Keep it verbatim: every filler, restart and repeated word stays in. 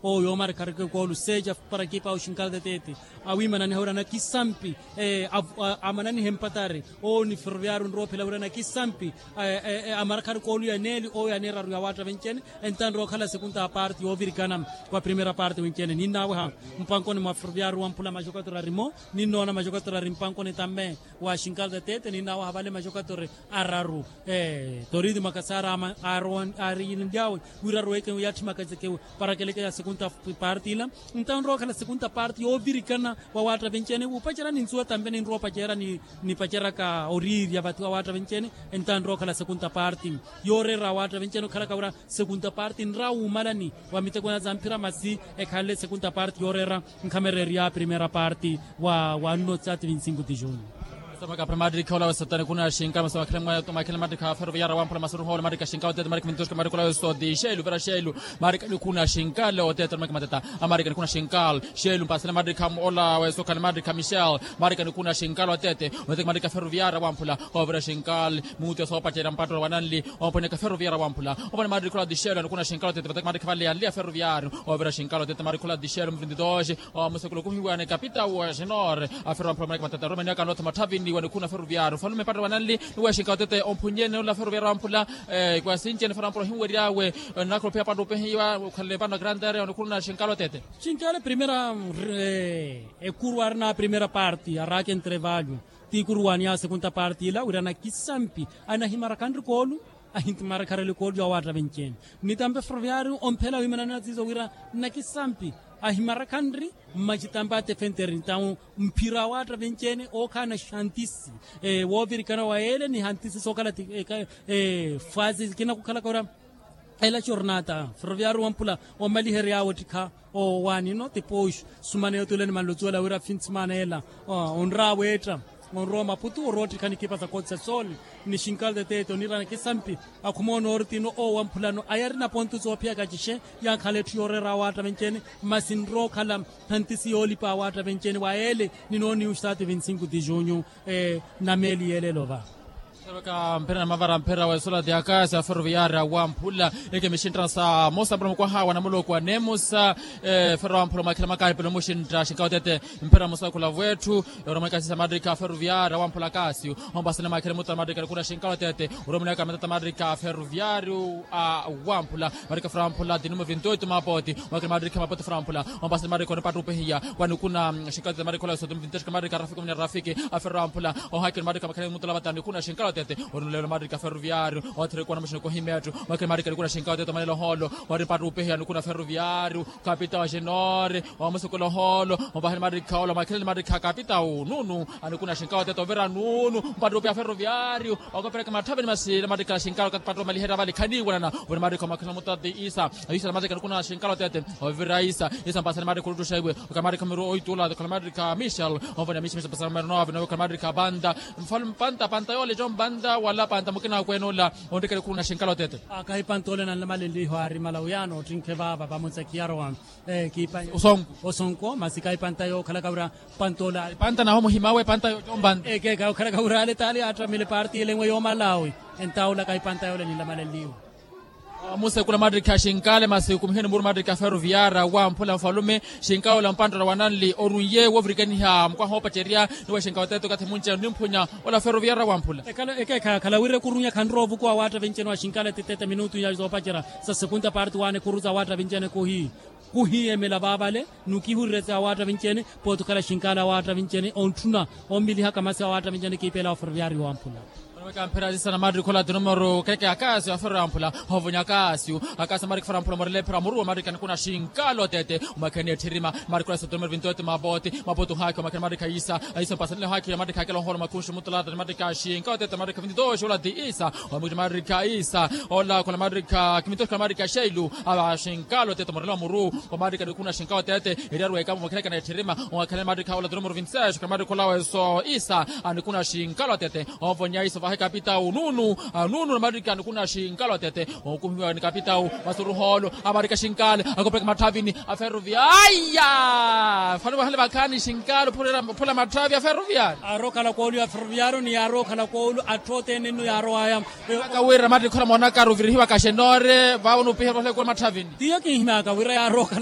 Owo yoomarikharika ekoolu seja para ekipa ya oshinkala tetete awiimananiha wira nakisampi amananiha empatari. Owo ni ferroviario onrowa ophela wira nakisampi amarakharika oluya neeli owo yaneeraru ya waatta vencene. Entaani rookhala sekunta parti yoovirikana wa primera parti wencene ninnaweha mpankoni mwa ferroviario wamphula majokatori arimo. Ninnoona majokatori ari mpankoni tamme wa shinkalta tete ninnaweha vale majokatori araru. Toriti makasara aari yinlyawe wira aruweke yatthi makazekewe para keleke ya sekunta parti ila. Entaani rookhala sekunta parti yoovirikana wa waatta vencene wupacerya ninsuwa tampe ninrowa opacerya nipaceryaka oriirya vathi wa waatta vencene. Entaani rookhala sekunta parti yooreera wa waatta vencene okhalaka wira sekunta parti nra wuumalani wa miteko na za mphira masi ekhanle sekunta parti yooreera nkhamereerya primera parti wa wanno sati vinti sinku ti juni. Makhele matrikha ola wesotani khuna shinka maso makhele matrikha ferroviaria wamphula masuruha ola matrikha shinka otete matrikha mintuxka matrikha ola wesoti xelu vera xelu. Marika nikuna xinkal otete marika mateta. Amarika nikuna xinkal xelu mpasela marika ola wesokhani marika michel. Marika nikuna xinkal otete otete marika ferroviaria wamphula ovira xinkal. Muti osoopacerya mpatto wananli omphonyaka ferroviaria wamphula. Ovana marika ola dixelu anikuna xinkal otete vateka marika vale yanli ya ferroviario. Ovira xinkal otete marika ola dixelu muvintitoxi omusekulu okuhiwani kapita wa xinore. Afero wamphula marika mateta romaniaka notha mathavini wanikhuna ferroviario falume mpatto wananli. Niweexinka otete omphunyene ola ferroviario wamphula. Kwasinci ene farampura ohinweryawe. Nakhulopeya pantu opehiwa okhalele pano grandere onikhuluna xinkalo tete. Xinkalo primera ekuru arina primera parti arake entrevalho. Ti ikuru waniya sekunta parti ila wira nakisampi anahimarakhanri koolu. Ahintimarakharele koolu ya waatta vencene. Nitampe ferroviario omphela wiimanana zizo wira nakisampi ahimarakhanri. Mmacitampe atefenteri ntawu mphira awaatta vencene ookhaana xantisi. Woovirikana wa yeele ni hantisi sookhala ti fwazi kinakukhalaka ora. Ela xornata ferroviario wampula omaliheryawe ottikha owaanino tipooxu. Sumana yotuleni manlocuwela wira finsimaana ela onraaweetta onrowa maputu orowa ottikha nikipa sa koti sa soni. Ni xinkalo tetete onirana kisampi. Akhuma onoortino owo wamphulano ayarina pontu soophiyaka cixe. Yankhala etthu yooreera awaatta vencene. Masi nrookhala hantisi yoolipa awaatta vencene wa yeele ninooniyu sati vinti sinku ti junyu. Na meeli yeeleelo va. Mpira na mavara mpira wa esola ti akasi a ferroviaria wamphula. Eke mixinttana sa mosa mpira mukwaha wa namuloko wa nemusa. Ferro wamphula mwakhila makahipelo muxintta xinkalo tete. Mpira musakhula vwetthu. Oromoneka sisa matrika ferroviaria wamphula akasi. Ompasani mwakhila muttana matrika nikuna xinkalo tete. Oromoneka matata matrika ferroviario wamphula. Marika framphula dinimo vintoito mapoti. Mwakina marika mapoti framphula. Ompasani marika onipattupehiya wanikuna xinkatete marika ola soto mvintoxka marika rafiki muna rafiki. Aferramphula ohakina marika makhani mutola vatani nikuna xinkatete. Onulelo marika ferroviario. Othirikuwa namuxina kohimetthu. Mwakina marika nikuna xinkatete omanela oholo. Wanipattupehiya nikuna ferroviario. Kapita wa xinori. Wamusekula oholo. Ompahani marika ola mwakhelani marika kapita ununu. Anikuna xinkalo tete ovira nunu mpattupi a ferroviario. Wakopereka matthaveni masi lamatikala xinkalo kapattupi omaliherya vale khaniiwanana. Ovira matikha omakhina mutati isa isa lamatikha nikuna xinkalo tete. Ovira isa isa mpasani matikha oluttuxa iwe okhala matikha miru oitula okhala matikha michel. Onvona michel michel mpasani matikha panta panta yoole jo mpanta wala panta mukina akwene ola. Ontikele khuna xinkalo tete. Akahi panta ole nanlamalenliho aari mala uyaano ottinkhe vaava vamonsa khiyarowa. Osonko. Osonko masi kaipanta yookhalaka wira. Panta ola panta naho muhimawe panta yompanta. Ekeeka yookhalaka wira ale taali attramile parti ele enwe yoomalawi. Entaula kaipanta yoole ninlamalenliwe. Musekula matrika xinkale masi kumiheni muru matrika ferroviara wamphula nfalume. Xinkale ola mpanttala wananli orunye woovirikaniha mukwaha oopacerya. Niwe xinkale teto kathi munce nimphunya ola ferroviara wamphula. Ekeeka khala wira ekurunya khanrowa ovukuwa waatta vincene wa xinkale titete minutu ya zoopacerya. Sa sekunta parti waana ekuru za waatta vincene kuhi kuhiyemela vaavale. Nukihurire sa awaatta vincene pooti okhala xinkala awaatta vincene ontthuna. Omilihaka masi awaatta vincene kiipeela wa ferroviario wamphula. Onoweka mphira zisa na matrikhola tinumero keke akasio aferro yamphula. Ovonya akasio akasio matrikhola mphula morele mphira muru wa matrikha nikuna xinkala otete. Omakhene etthirima matrikhola sa tinumero vintoete mapoti. Mapoti ohakhi omakhene matrikha isa isa mpasanele ohakhi matrikha akela oholo makhunxi mutulata ni matrikha xinkala otete matrikha vintitoxi ola ti isa. Ola khula matrikha kimitoxi khula matrikha xeilu. Ava xinkalo tete morelo muru khula matrikha nikuna xinkalo tete. Eriaru wekamo mwakhilekana etthirima mwakhile matrikha ola tete morelo vintisexo khula matrikha ola weso isa. Anikuna xinkalo tete. Onvonya isa vahe kapita ununu. Ununu na matrikha nikuna xinkalo tete. Okuhiwa ni kapita u masuruholo amarika xinkale akopeka matthavini. Aferroviaria fano vahale vakhani xinkalo phula matthavi aferroviaria. Arokhala koolu ya ferroviario ni yaarokhala koolu atthu othene nno yaarowaya. Aka wira mati khora moonaka ruvirihiwa kaxenore vavo nupiherwa olekula matthavini. Tiyo kinhimyaka wira yaarokhala.